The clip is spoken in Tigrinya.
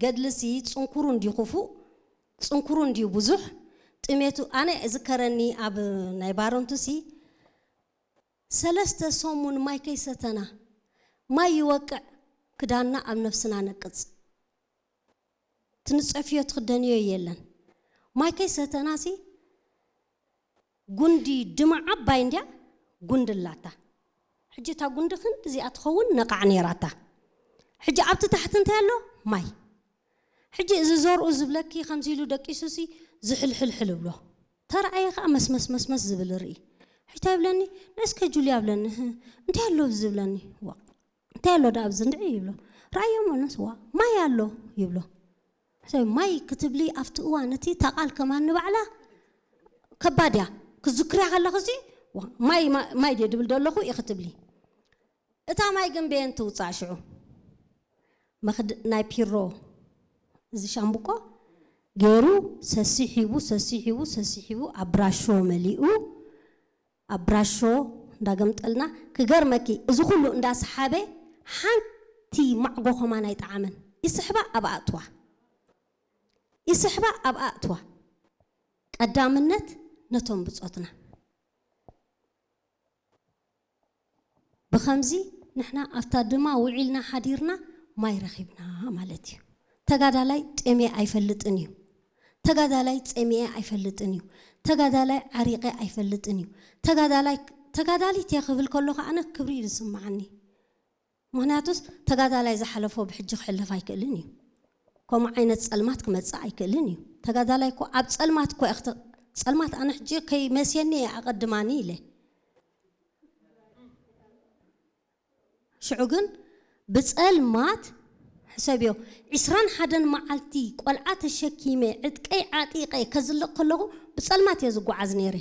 ገድልሲ ጽንኩሩ እንዲዩ ክፉእ፣ ጽንኩሩ እንዲዩ ብዙሕ። ጥሜቱ ኣነ እዝከረኒ ኣብ ናይ ባረንቱሲ ሰለስተ ሰሙን ማይ ከይሰተና፣ ማይ ይወቅዕ፣ ክዳንና ኣብ ነብስና ነቅጽ። ትንጸፍዮ ትኽደንዮ የለን። ማይ ከይሰተናሲ ጉንዲ ድማ ዓባይ እንድያ ጉንዲ ኣላታ። ሕጂ እታ ጉንዲ ክንዲ እዚኣ ትኸውን ነቓዕ ነይራታ። ሕጂ ኣብቲ ታሕቲ እንታይ ኣሎ? ማይ። ሕጂ እዚ ዘርኡ ዝብለኪ ከምዚ ኢሉ ደቂሱሲ ዝሕልሕልሕል እብሎ። ተረኣየ ከኣ መስመስ መስመስ ዝብል ርኢ። ሕጂ እንታይ ይብለኒ? ነስከ ጁልያ ይብለኒ። "ህ፣ እንታይ ኣሎ ኣብዚ?" ዝብለኒ። ዋ፣ እንታይ ኣሎ ደኣ ኣብዚ እንድዒ ይብሎ። ረኣዮ መለስ፣ "ዋ፣ ማይ ኣሎ" ይብሎ። ሕሰብ ማይ ክትብሊ ኣብቲ እዋን እቲ እታ ቃል ከማን ንባዕላ ከባድ እያ። ክዝክርያ ከለኽሲ፣ "ዋ፣ ማይ፣ ማ-፣ ማይ ድየ ድብል ዘለኹ?" ኢኺ ትብሊ። እታ ማይ ግን በየን ትውጻእ ሽዑ? መኽድ-፣ ናይ ፒሮ እዚ ሻምብቆ ገይሩ ሰሲሒቡ፣ ሰሲሒቡ፣ ሰሲሒቡ ኣብ ብራሾ መሊኡ፣ ኣብ ብራሾ እንዳገምጠልና፣ ክገርመኪ፣ እዚ ኩሉ እንዳሰሓበ ሓንቲ ማዕጎ ከማን ኣይጠዓመን። ይስሕባ ኣብ ኣእትዋ። ይስሕባ ኣብ ኣእትዋ። ቀዳምነት ነቶም ብጾትና። ብኸምዚ ንሕና ኣብታ ድማ ውዒልና ሓዲርና ማይ ረኺብና ማለት እዩ። ተጋዳላይ ጤሜ ኣይፈልጥን እዩ። ተጋዳላይ ጸሚኤ ኣይፈልጥን እዩ። ተጋዳላይ ዓሪቐ ኣይፈልጥን እዩ። ተጋዳላይ፣ ተጋዳሊት እየ ክብል ከለኹ ኣነ ክብሪ እዩ ዝስምዓኒ። ምኽንያቱስ ተጋዳላይ ዝሓለፎ ብሕጂ ክሕለፍ ኣይክእልን እዩ። ከምኡ ዓይነት ጸልማት ክመጽእ ኣይክእልን እዩ። ተጋዳላይ እኮ ኣብ ጸልማት እኮ እየ ክተ-፣ ጸልማት ኣነ ሕጂ ከይመስየኒ እየ ኣቐድማኒ ኢለ። ሽዑ ግን ብጸልማት ሕሰብዮ፣ ዕስራን ሓደን መዓልቲ ቆልዓ ተሸኪመ፣ ዕጥቀይ ዓጢቐ ከዝልቕ ከለኹ ብጸልማት እየ ዝጓዓዝ ነይረ።